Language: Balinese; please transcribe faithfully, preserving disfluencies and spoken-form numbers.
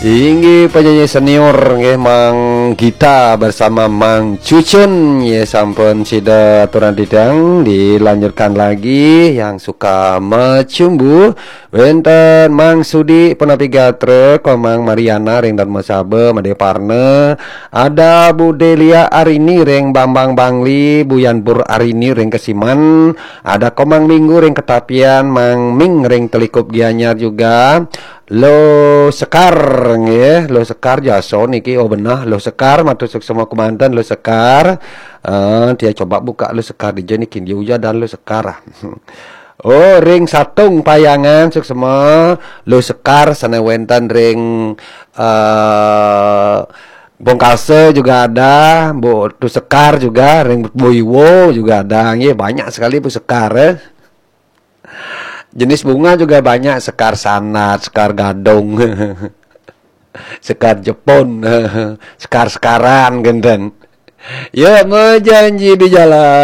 Inggih penyanyi senior nggih, Mang Gita bersama Mang Cucun, ya, sampun sida aturan didang. Dilanjutkan lagi yang suka macumbu. Wenten Mang Sudi, punapi gatra, Komang Mariana ring Dharmasaba, Made Parna, ada Bu Delia Arini ring Bambang Bangli, Bu Yanpur Arini ring Kesiman, ada Komang Minggu ring Ketapian, Mang Ming ring Telikup Gianyar juga. Lo Sekar nggih, Lo Sekar jasa niki, oh benah, Lo Sekar matur suksma kemanten, Lo Sekar. Eh, dia coba buka Lo Sekar dija niki, dia uja dan Lo Sekar. Oh, ring Satung Payangan suksma, Lo Sekar sane wenten ring eh Bongkasa juga ada, Bu Tu Sekar juga, ring Bu Iwo juga ada. Nggih, banyak sekali Bu Sekar, eh. Jenis bunga juga banyak, sekar sanat, sekar gadung, sekar Jepun, sekar-sekaran genten. Ya, mejanji di jalan.